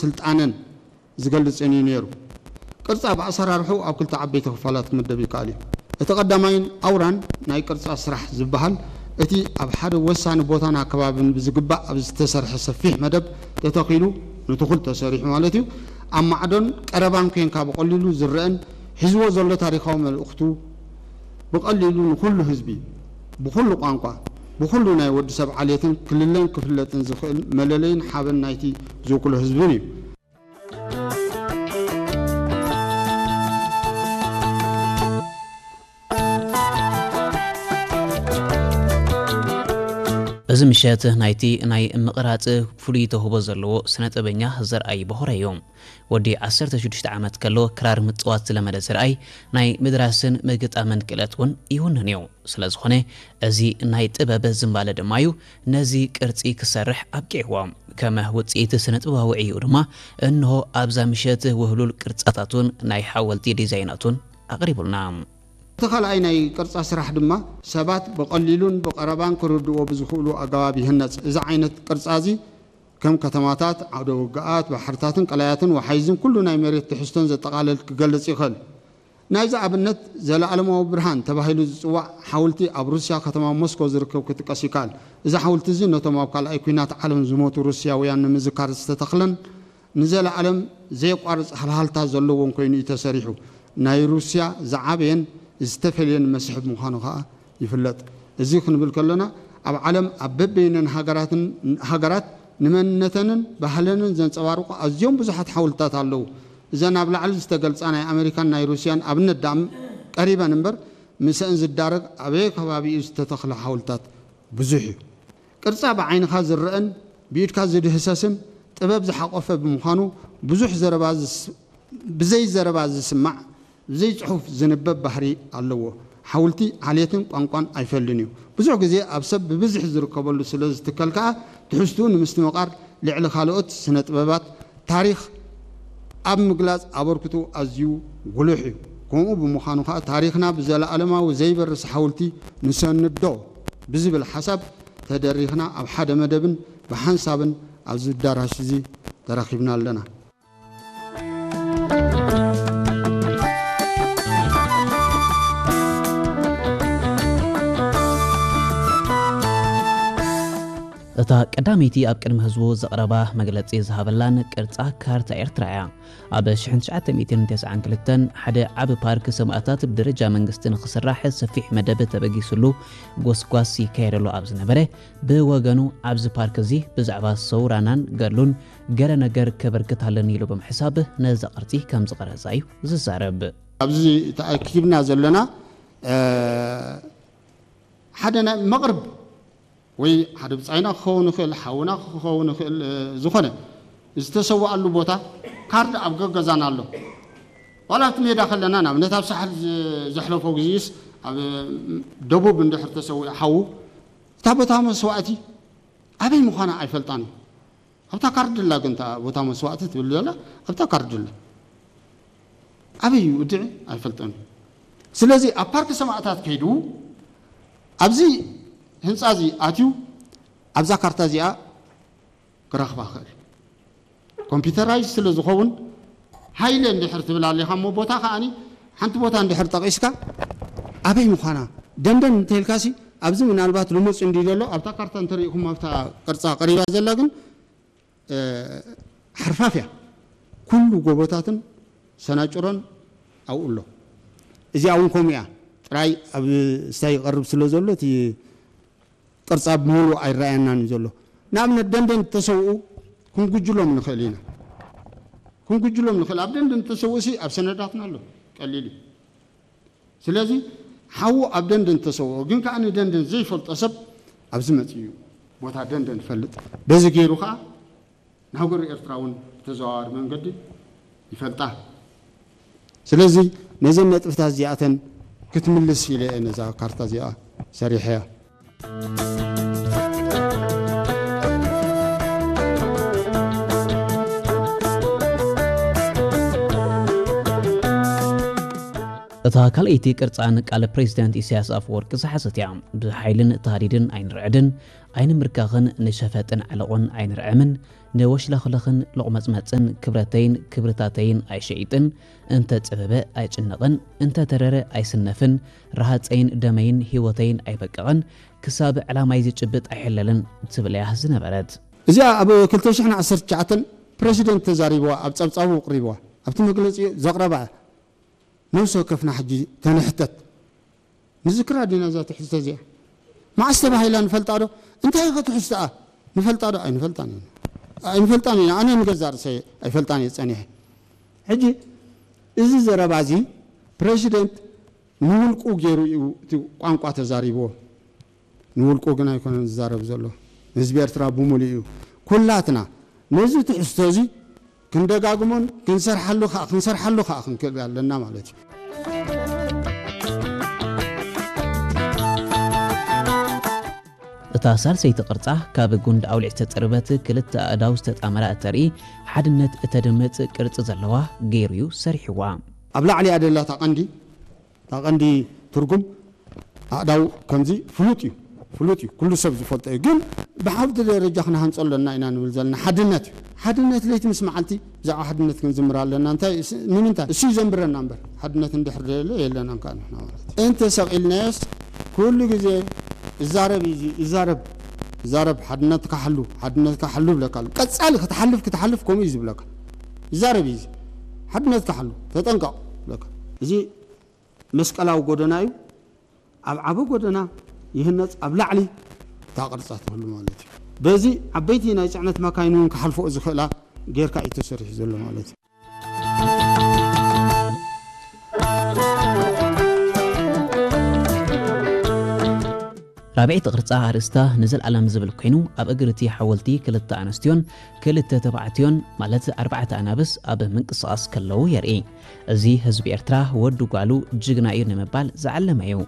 ስልጣነን ዝገልጽን እዩ ነይሩ። ቅርጻ ብኣሰራርሑ ኣብ ክልተ ዓበይቲ ክፋላት ክምደብ ይከኣል እዩ። እቲ ቀዳማይን ኣውራን ናይ ቅርጻ ስራሕ ዝበሃል እቲ ኣብ ሓደ ወሳኒ ቦታን ኣከባብን ብዝግባእ ኣብ ዝተሰርሐ ሰፊሕ መደብ ተተኺሉ፣ ንትኹል ተሰሪሑ ማለት እዩ፣ ኣብ ማዕዶን ቀረባን ኮንካ ብቐሊሉ ዝረአን ሒዝዎ ዘሎ ታሪኻዊ መልእኽቱ ብቐሊሉ ንኹሉ ህዝቢ፣ ብኹሉ ቋንቋ፣ ብኹሉ ናይ ወዲ ሰብ ዓሌትን ክልለን ክፍለጥን ዝኽእል መለለይን ሓበን ናይቲ ዝውክሎ ህዝብን እዩ። እዚ ምሸት ናይቲ ናይ ምቕራጽ ፍሉይ ተውህቦ ዘለዎ ስነ ጥበበኛ ዘርኣይ በኹረ እዩ። ወዲ ዓሰርተ ሽዱሽተ ዓመት ከሎ ክራር ምጽዋት ዝለመደ ዘርኣይ ናይ ምድራስን ምግጣምን ክእለት እውን ይውንን እዩ። ስለ ዝኾነ እዚ ናይ ጥበብ ዝንባለ ድማ እዩ ነዚ ቅርጺ ክሰርሕ ኣብቂዕዎ። ከም ውጽኢት ስነ ጥበባዊ ዕይኡ ድማ እንሆ ኣብዛ ምሸት ውህሉል ቅርጻታቱን ናይ ሓወልቲ ዲዛይናቱን ኣቕሪቡልና። እቲ ካልኣይ ናይ ቅርጻ ስራሕ ድማ ሰባት ብቐሊሉን ብቐረባን ክርድእዎ ብዝኽእሉ ኣገባብ ይህነጽ። እዚ ዓይነት ቅርጻ እዚ ከም ከተማታት፣ ዓውደ ውግኣት፣ ባሕርታትን ቀላያትን ወሓይዝን ኩሉ ናይ መሬት ትሕዝቶን ዘጠቓልል ክገልጽ ይኽእል። ናይዚ ኣብነት ዘለኣለማዊ ብርሃን ተባሂሉ ዝጽዋዕ ሓውልቲ ኣብ ሩስያ ከተማ ሞስኮ ዝርከብ ክጥቀስ ይከኣል። እዚ ሓውልቲ እዚ ነቶም ኣብ ካልኣይ ኲናት ዓለም ዝሞቱ ሩስያውያን ንምዝካር ዝተተኽለን ንዘለኣለም ዘየቋርጽ ሃልሃልታ ዘለዎን ኮይኑ እዩ ተሰሪሑ። ናይ ሩስያ ዝዓበየን ዝተፈልየን መስሕብ ምዃኑ ከኣ ይፍለጥ። እዚ ክንብል ከሎና ኣብ ዓለም ኣብ በበይነን ሃገራትን ሃገራት ንመንነተንን ባህለንን ዘንጸባርቑ ኣዝዮም ብዙሓት ሓውልትታት ኣለዉ። እዘን ኣብ ላዕሊ ዝተገልጻ ናይ ኣመሪካን ናይ ሩስያን ኣብነት ደኣ ቀሪበን እምበር ምስአን ዝዳረግ ኣበየ ከባቢኡ ዝተተኽለ ሓውልትታት ብዙሕ እዩ። ቅርጻ ብዓይንኻ ዝረአን ብኢድካ ዝድህሰስን ጥበብ ዝሓቖፈ ብምዃኑ ብዙሕ ዘረባ ዝስ- ብዘይ ዘረባ ዝስማዕ ብዘይ ጽሑፍ ዝንበብ ባህሪ ኣለዎ። ሓውልቲ ዓሌትን ቋንቋን ኣይፈልን እዩ። ብዙሕ ግዜ ኣብ ሰብ ብብዝሒ ዝርከበሉ ስለ ዝትከል ከኣ ትሕዝትኡ ንምስትምቓር ልዕሊ ካልኦት ስነ ጥበባት ታሪኽ ኣብ ምግላጽ ኣበርክትኡ ኣዝዩ ጉሉሕ እዩ። ከምኡ ብምዃኑ ከኣ ታሪኽና ብዘለኣለማዊ ዘይበርስ ሓውልቲ ንሰንዶ ብዝብል ሓሳብ ተደሪኽና ኣብ ሓደ መደብን ብሓንሳብን ኣብዚ ኣዳራሽ እዚ ተራኺብና ኣለና። እታ ቀዳመይቲ ኣብ ቅድሚ ህዝቡ ዘቕረባ መግለጺ ዝሃበላን ቅርጻ ካርታ ኤርትራ እያ። ኣብ ሽሕን ትሽዓተ ሚእትን ተስዓን ክልተን ሓደ ዓቢ ፓርክ ሰማእታት ብደረጃ መንግስቲ ንኽስራሕ ሰፊሕ መደብ ተበጊስሉ ጎስጓስ ይካየደሉ ኣብ ዝነበረ፣ ብወገኑ ኣብዚ ፓርክ እዚ ብዛዕባ ሰውራናን ገድሉን ገለ ነገር ከበርክት ኣለኒ ኢሉ ብምሕሳብ ነዛ ቅርጺ ከም ዝቐረጻ እዩ ዝዛረብ። ኣብዚ ተኣኪብና ዘለና ሓደ ናይ መቕርብ ወይ ሓደ ብጻይና ክኸውን ይኽእል፣ ሓውና ክኸውን ይኽእል፣ ዝኾነ ዝተሰወኣሉ ቦታ ካርድ ኣብ ገገዛና ኣሎ። ዋላ ኣብቲ ሜዳ ከለና ንኣብነት ኣብ ሳሕል ዘሕለፎ ግዜስ ኣብ ደቡብ እንድሕር ተሰዊኡ ሓዉ እታ ቦታ መስዋእቲ ኣበይ ምዃና ኣይፈልጣን እዩ። ኣብታ ካርድ ኣላ ግን እታ ቦታ መስዋእቲ ትብል ዘላ ኣብታ ካርድ ኣላ። ኣበይ እዩ ውድዒ ኣይፈልጠን እዩ። ስለዚ ኣብ ፓርክ ሰማእታት ከይዱ ኣብዚ ህንፃ እዚ ኣትዩ ኣብዛ ካርታ እዚኣ ክረኽባ ክእል። ኮምፒውተራይዝ ስለ ዝኸውን ሃይለ እንድሕር ትብል ኣሊኻ እሞ ቦታ ከዓኒ ሓንቲ ቦታ እንድሕር ጠቒስካ ኣበይ ምዃና ደንደን እንተልካሲ ኣብዚ ምናልባት ልሙፅ እንዲ ዘሎ ኣብታ ካርታ እንተሪእኹም ኣብታ ቅርፃ ቀሪባ ዘላ ግን ሓርፋፍ እያ። ኩሉ ጎቦታትን ሰናጭሮን ኣብኡ ኣሎ። እዚኣ እውን ከምኡ እያ። ጥራይ ኣብ ስታይ ይቐርብ ስለ ዘሎ እቲ ቅርጻ ብምሉእ ኣይረኣየናን እዩ ዘሎ። ንኣብነት ደንደን ተሰውኡ ክንጉጅሎም ንኽእል ኢና። ክንጉጅሎም ንኽእል። ኣብ ደንደን ተሰውኡ ሲ ኣብ ሰነዳትና ኣሎ። ቀሊል እዩ። ስለዚ ሓዉ ኣብ ደንደን ተሰውኦ ግን ከዓ ንደንደን ዘይፈልጦ ሰብ ኣብዚ መፅኡ እዩ ቦታ ደንደን ይፈልጥ። በዚ ገይሩ ከዓ ንሃገሩ ኤርትራ እውን ብተዘዋዋሪ መንገዲ ይፈልጣ። ስለዚ ነዘን ነጥብታት እዚኣተን ክትምልስ ኢለ እየ ነዛ ካርታ እዚኣ ሰሪሐያ። እታ ካልኣይቲ ቅርጻ ንቃል ፕሬዚደንት ኢሳያስ ኣፈወርቂ ዝሓዘት እያ። ብሓይልን ተሃዲድን ኣይንርዕድን፣ ኣይንምርካኽን፣ ንሸፈጥን ዓለቑን ኣይንርዕምን፣ ንወሽለኽለኽን ሎቕመጽመጽን ክብረተይን ክብርታተይን ኣይሸይጥን፣ እንተ ጸበበ ኣይጭነቕን፣ እንተ ተረረ ኣይስነፍን፣ ረሃጸይን ደመይን ህይወተይን ኣይበቅቕን፣ ክሳብ ዕላማይ ዝጭብጥ ኣይሕለልን ትብል እያ ዝነበረት። እዚኣ ኣብ ክልተ ሽሕን ዓሰርተ ትሽዓተን ፕረሲደንት ተዛሪብዋ፣ ኣብ ጸብጻቡ ኣቕሪብዋ፣ ኣብቲ መግለጺ ዘቕረባ እያ። ነብሲ ወከፍና ሕጂ ተንሕተት። ንዝክራ ዲና እዛ ትሕዝቶ እዚኣ? መዓስ ተባሂላ ንፈልጣ ዶ? እንታይ ኢኸ ትሕዝቶኣ? ንፈልጣ ዶ? ኣይንፈልጣን ኢና። ኣይንፈልጣን ኢና። ኣነ ንገዛእ ርእሰይ ኣይፈልጣን እየ ጸኒሐ። ሕጂ እዚ ዘረባ እዚ ፕረሲደንት ንውልቁ ገይሩ እዩ እቲ ቋንቋ ተዛሪብዎ። ንውልቁ ግን ኣይኮነን ዝዛረብ ዘሎ። ህዝቢ ኤርትራ ብምሉእ እዩ። ኩላትና ነዚ ትሕዝቶ እዚ ክንደጋግሞን ክንሰርሓሉ ከኣ፣ ክንሰርሓሉ ከኣ ክንክእል ኣለና ማለት እዩ። እታ ሳልሰይቲ ቅርጻ ካብ ጉንዲ ኣውሊዕ ዝተጸርበት ክልተ ኣእዳው ዝተጣመራ እተርኢ ሓድነት እተድምጽ ቅርጺ ዘለዋ ገይሩ እዩ ሰሪሕዋ። ኣብ ላዕሊ ኣደላታ ቀንዲ እታ ቀንዲ ትርጉም ኣእዳው ከምዚ ፍሉጥ እዩ፣ ፍሉጥ እዩ፣ ኩሉ ሰብ ዝፈልጦ እዩ። ግን ብሓንቲ ደረጃ ክንሃንጾ ኣለና ኢና ንብል ዘለና ሓድነት እዩ። ሓድነት ለይቲ ምስ መዓልቲ ብዛዕባ ሓድነት ክንዝምር ኣለና። እንታይ ስ-፣ ንምንታይ? እሱ እዩ ዘንብረና እምበር፣ ሓድነት እንድሕር ደየለ የለናን ከኣ ንሕና ማለት እዩ። እንተ ሰቒልናዮስ ኩሉ ግዜ እዛረብ እዩ እዚ፣ እዛረብ፣ እዛረብ፣ ሓድነትካ ሓሉ፣ ሓድነትካ ሓሉ ይብለካ ኣሎ። ቀጻሊ ክትሓልፍ፣ ክትሓልፍ ከምኡ እዩ ዝብለካ። ይዛረብ እዩ እዚ። ሓድነትካ ሓሉ፣ ተጠንቀቕ ይብለካ። እዚ መስቀላዊ ጎደና እዩ። ኣብ ዓቢ ጎደና ይህነጽ፣ ኣብ ላዕሊ እታ ቅርጻ ትህሉ ማለት እዩ። በዚ ዓበይቲ ናይ ጽዕነት መካይን እውን ክሓልፍኦ ዝኽእላ ጌርካ እዩ ተሰሪሑ ዘሎ ማለት እዩ። ራብዐይቲ ቅርጻ ኣርእስታ ንዘለኣለም ዝብል ኮይኑ፣ ኣብ እግሪ እቲ ሓወልቲ ክልተ ኣንስትዮን ክልተ ተባዕትዮን፣ ማለት ኣርባዕተ ኣናብስ ኣብ ምንቅስቓስ ከለዉ የርኢ። እዚ ህዝቢ ኤርትራ ወዲ ጓሉ ጅግና እዩ ንምባል ዝዓለመ እዩ።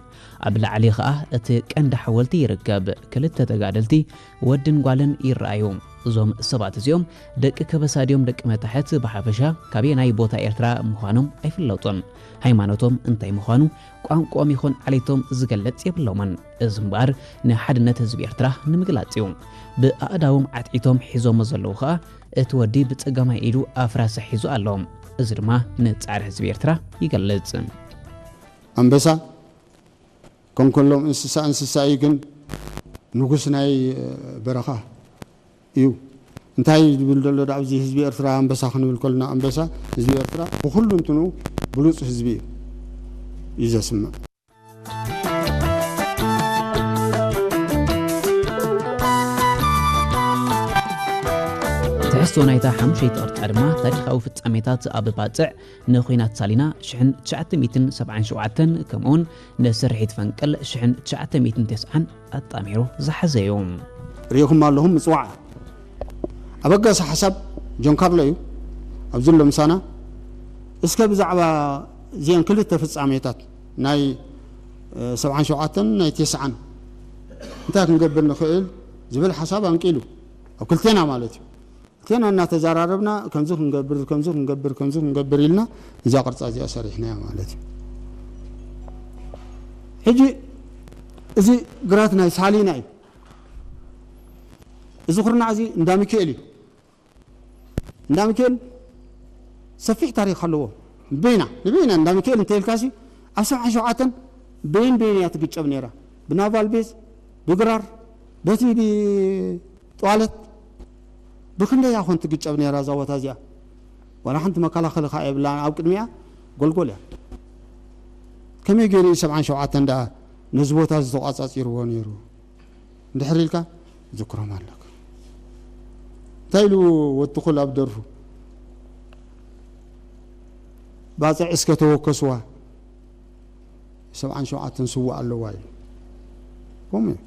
ኣብ ላዕሊ ኸኣ እቲ ቀንዲ ሓወልቲ ይርከብ። ክልተ ተጋደልቲ ወድን ጓልን ይረኣዩ። እዞም ሰባት እዚኦም ደቂ ከበሳ ድዮም ደቂ መታሕት ብሓፈሻ ካበየናይ ቦታ ኤርትራ ምዃኖም ኣይፍለጡን። ሃይማኖቶም እንታይ ምዃኑ፣ ቋንቋኦም ይኹን ዓሌቶም ዝገልጽ የብሎምን። እዚ እምበኣር ንሓድነት ህዝቢ ኤርትራ ንምግላጽ እዩ። ብኣእዳዎም ዓትዒቶም ሒዞሞ ዘለዉ ኸኣ እቲ ወዲ ብጸጋማይ ኢዱ ኣፍራሳ ሒዙ ኣሎ። እዚ ድማ ንጻዕሪ ህዝቢ ኤርትራ ይገልጽ። ኣንበሳ ከም ኩሎም እንስሳ እንስሳ እዩ፣ ግን ንጉስ ናይ በረኻ እዩ። እንታይ ዝብል ዘሎ ዳ ኣብዚ ህዝቢ ኤርትራ ኣንበሳ ክንብል ከለና ኣንበሳ ህዝቢ ኤርትራ ብኹሉ እንትኑ ብሉጽ ህዝቢ እዩ፣ እዩ ዘስምዕ። ትሕዝቶ ናይታ ሓሙሸይቲ ቅርጻ ድማ ታሪኻዊ ፍጻሜታት ኣብ ባጽዕ ንኹናት ሳሊና ሽሕን ትሽዓተ ሚእትን ሰብዓን ሸውዓተን ከምኡውን ንስርሒት ፈንቅል ሽሕን ትሽዓተ ሚእትን ተስዓን ኣጣሚሩ ዝሓዘ እዩ። ርኢኹም ኣለኹም ምጽዋዕ ኣበጋሲ ሓሳብ ጆን ካርሎ እዩ። ኣብዚ ኣሎ ምሳና። እስከ ብዛዕባ እዚአን ክልተ ፍጻሜታት ናይ፣ እ፣ ሰብዓን ሸውዓተን ናይ ተስዓን እንታይ ክንገብር ንኽእል ዝብል ሓሳብ ኣንቂሉ ኣብ ክልቴና ማለት እዩ። ክልቴና እናተዘራረብና ከምዚ ክንገብር፣ ከምዚ ክንገብር፣ ከምዚ ክንገብር ኢልና እዛ ቅርጻ እዚኣ ሰሪሕናያ ማለት እዩ። ሕጂ እዚ ግራት ናይ ሳሊና እዩ። እዚ ኩርናዕ እዚ እንዳ ሚካኤል እዩ። እንዳ ሚካኤል ሰፊሕ ታሪኽ ኣለዎ። በይና፣ ንበይና እንዳ ሚካኤል እንተኢልካሲ ኣብ ሰብዓን ሸውዓተን በይን በይን እያ ትግጨብ ነይራ። ብናቫል ቤዝ፣ ብግራር፣ በቲ ብ-፣ ጠዋለት ብኽንደይ እያ ኮን ትግጨብ ነይራ እዛ ቦታ እዚኣ። ዋላ ሓንቲ መከላኸሊ ከኣ የብላን። ኣብ ቅድሚኣ ጎልጎል እያ። ከመይ ገይሩ እዩ ሰብዓን ሸውዓተን ደኣ ነዚ ቦታ እዚ ተቋጻጺርዎ ነይሩ? እንድሕር ኢልካ ዝክሮም ኣለካ። እንታይ ኢሉ ወትኹል ኣብ ደርፉ? ባጽዕ እስከ ተወከስዋ፣ ሰብዓን ሸውዓተን ስዉእ ኣለዋ ኢሉ። ከምኡ እዩ።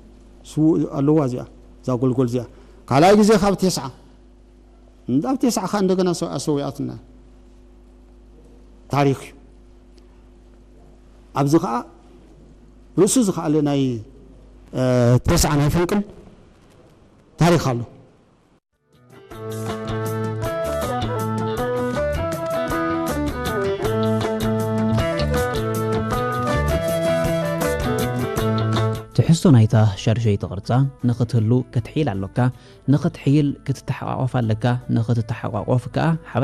ስዉእ ኣለዋ እዚኣ፣ እዛ ጎልጎል እዚኣ። ካልኣይ ግዜ ካብ ተስዓ። እንዳ ኣብ ተስዓ ኸኣ እንደገና ሰ-፣ ኣሰዊኣትና። ታሪኽ እዩ። ኣብዚ ኸኣ ርእሱ ዝኸኣለ ናይ፣ እ፣ ተስዓ ናይ ፈንቅል ታሪኽ ኣሎ። ትሕዝቶ ናይታ ሻድሸይቲ ቅርጻ ንኽትህሉ ክትሕይል ኣሎካ። ንኽትሕይል ክትተሓቋቖፍ ኣለካ። ንኽትተሓቋቖፍ ከኣ